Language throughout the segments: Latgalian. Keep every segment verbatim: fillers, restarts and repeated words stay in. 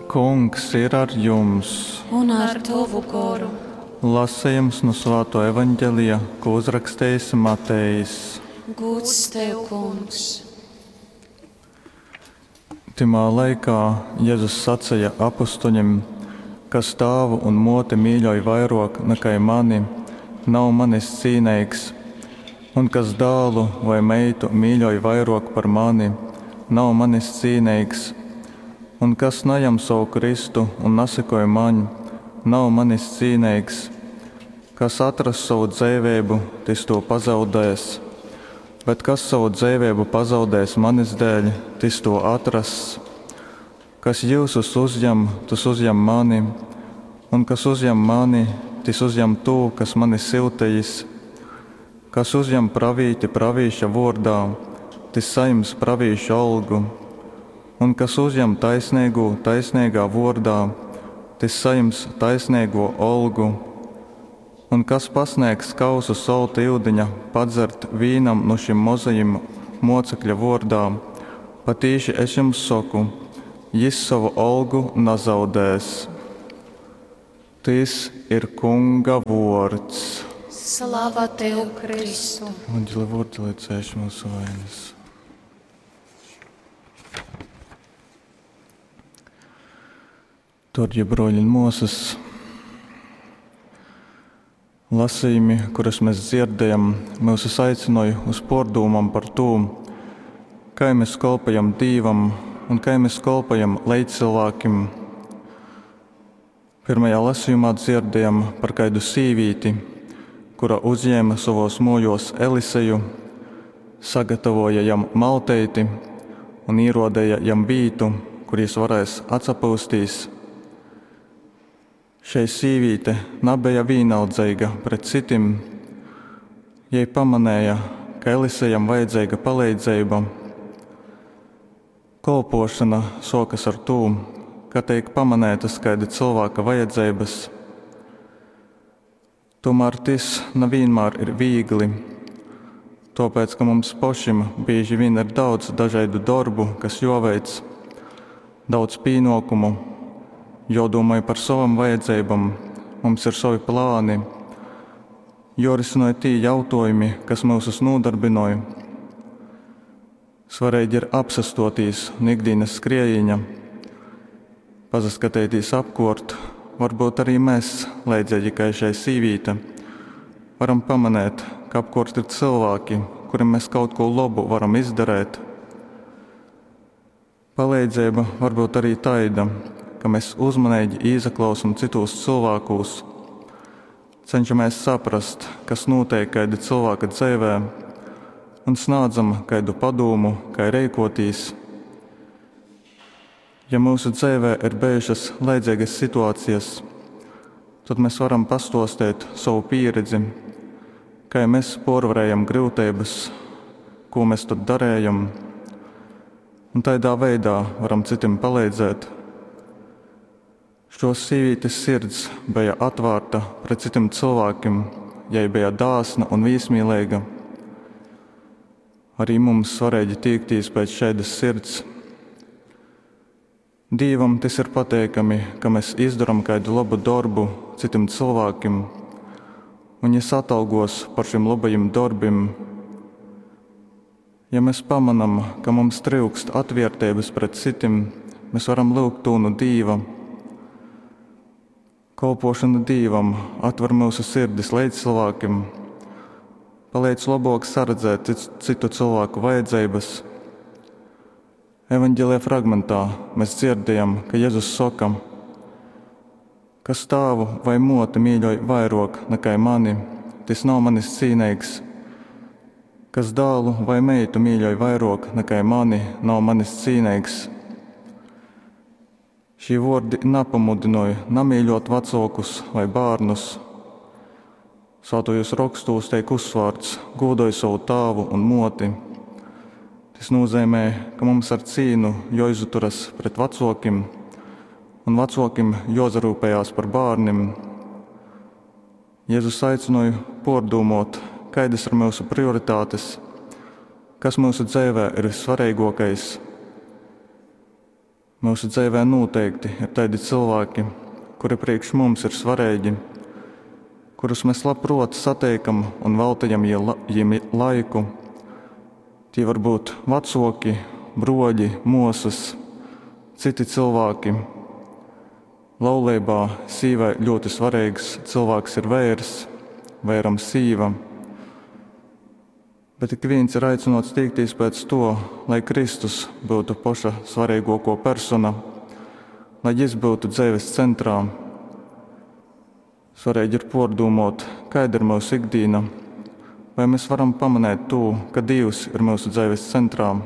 Kungs ir ar jums! Un ar tovu goru. Lasejums nu Svātuo Evaņgelija, ko uzrakstījis Matejs. Gūds tev, Kungs! Tymā laikā Jezus saceja apustuļim: Kas tāvu un mōti mīļoj vairōk nakai mani, nav manis cīneigs, un kas dālu voi meitu mīļoj vairōk par mani, nav manis cīneigs. Un kas najam sovu krystu un nasekoj maņ, nav manis cīneigs. Kas atrass sovu dzeiveibu, tys tū pazaudēs, bet kas sovu dzeiveibu pazaudēs manis dēļ, tys tū atrass. Kas jyusus uzjam, tys uzjam mani, un kas uzjam mani, tys uzjam tū, kas mani syutejis. Kas uzjam pravīti pravīša vōrdā, tys sajims pravīša olgu. Un kas uzjam taisneigū taisneigā vōrdā, tys sajims taisneigō olgu. Un kas pasnēgs kausu solta yudiņa padzert vīnam nu šim mozajim mōcekļa vōrdā, patīši es jums soku, jys sovu olgu nazaudēs. Tys ir Kunga vōrds. Slava tev, Kristu! Evaņģeļa vōrdi, lai cēš mūsu vainas. Darbie broļi un māsas, lasījumi, kurus mēs dzirdējam, mūs aicināja uz pārdomām par to, kā mēs kalpojam Dievam un kā mēs kalpojam līdzcilvēkiem. Pirmajā lasījumā dzirdējam par kādu sīvīti, kura uzņēma savos mojos Eliseju, sagatavoja jam malteiti un ierodēja jam vītu, kur jis varēs atsapūstīs. Šei sīvīte nabeja vienaldzīga pret citim. Jei pamanēja, ka Elisejam vajadzīga palīdzība. Kolpošana sokas ar to, ka tiek pamanētas kāda cilvēka vajadzības. Tomēr tas nevienmēr ir viegli. Tāpēc, ka mums pašiem bieži vien ir daudz dažādu darbu, kas jāveic, daudz pienākumu, jādomā par savām vajadzībām, mums ir savi plāni, jārisina tie jautājumi, kas mūsus nodarbināja. Svarīgi ir apsastoties no ikdienas skrējiņa, pasaskatīties apkārt, varbūt arī mēs, līdzīgi kā šai sīvīte, varam pamanīt, ka apkārt ir cilvēki, kuriem mēs kaut ko labu varam izdarīt. Palīdzība var būt arī taida, ka mēs uzmanīgi ieklausām citos cilvēkos, cenšamies saprast, kas notiek kāda cilvēka dzīvē, un sniedzam kādu padomu, kā rīkoties. Ja mūsu dzīvē ir bijušas līdzīgas situācijas, tad mēs varam pastostēt savu pieredzi, kā mēs porvarējam grūtības, ko mēs tad darējam, un tādā veidā varam citiem palīdzēt. Šos sīvītes sirds bija atvērta pret citiem cilvēkiem, jai bija dāsna un viesmīlīga. Arī mums svarīgi tiekties pēc šādas sirds. Dievam tas ir pateikami, ka mēs izdarām kādu labu darbu citiem cilvēkiem, un viņš atalgos par šiem labajiem darbiem. Ja mēs pamanām, ka mums trūkst atvērtības pret citiem, mēs varam lūgt to no Dieva. Kalpošana Dievam atver mūsu sirdis līdzcilvēkiem, palīdz labāk saredzēt citu cilvēku vajadzības. Evanģēlijā fragmentā mēs dzirdējam, ka Jēzus saka, kas tēvu vai moti mīļoj vairāk nekā mani, tas nav manis cīnīgs. Kas dēlu vai meitu mīļoj vairāk nekā mani, nav manis cīnīgs. Šī vārdi nepamudināja namīļot vecākus vai bērnus. Svētajos rakstos tiek uzsvērts: godoj savu tēvu un moti. Tas nozīmē, ka mums ar cīnu jāizturas pret vecākiem, un vecākiem jāsarūpējās par bērniem. Jēzus aicināja pārdomāt, kādas ir mūsu prioritātes, kas mūsu dzīvē ir vissvarīgākais. Myusu dzeivē nūteikti ir taidi cylvāki, kuri priekš mums ir svareigi, kurus mes labpruot sateikam un veltejam jim laiku. Tī var būt vacuoki, bruoļi, muosys, cyti cylvāki. Lauleibā sīvai ļoti svareigs cylvāks ir veirs, veiram sīva. Bet ikvīns ir aicynuots tīktīs pēc tuo, lai Kristus byutu poša svareiguokuo persona, lai Jis byutu dzeives centrā. Svareigi ir puordūmuot, kaida ir myusu ikdīna, vai mēs varam pamanēt tū, ka Dīvs ir myusu dzeives centrā.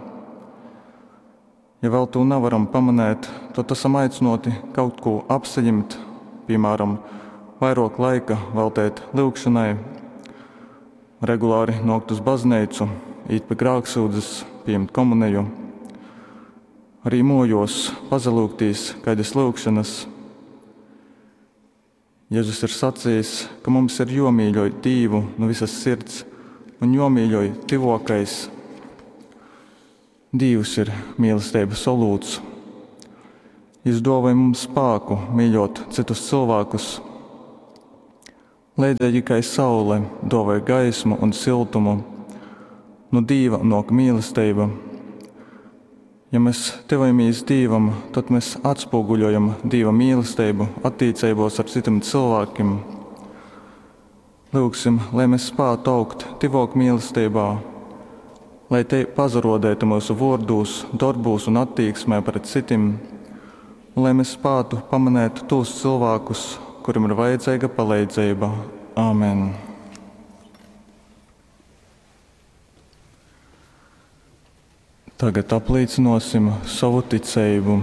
Ja vēl tū navaram pamanēt, tod esam aicynuoti kaut kū apsajimt, piemēram, vairuok laika veltēt lyugšonai, regulāri nuokt uz bazneicu, īt pi grāksūdzes, pījimt komuneju. Arī muojuos pasalyugtīs kaidys lyugšonys. Jezus ir sacījis, ka mums ir juomīļoj Dīvu nu visas sirds un juomīļoj tyvuokais. Dīvs ir mīlesteibys olūts. Jis duovoj mums spāku mīļuot cytus cylvākus. Leidzeigi kai saule duovoj gaismu un siltumu, nu Dīva nuok mīlesteiba. Ja mēs tyvojamīs Dīvam, tod mēs atspūguļojam Dīva mīlesteibu attīceibuos ar cytim cylvākim. Lyugsim, lai mēs spātu augt tyvuok mīlesteibā, lai tei pasaruodētu myusu vuordūs, dorbūs un attīksmē pret cytim, un lai mēs spātu pamanēt tūs cylvākus, kurim ir vajadzeiga paleidzeiba. Āmen. Tagad aplīcynuosim sovu ticeibu.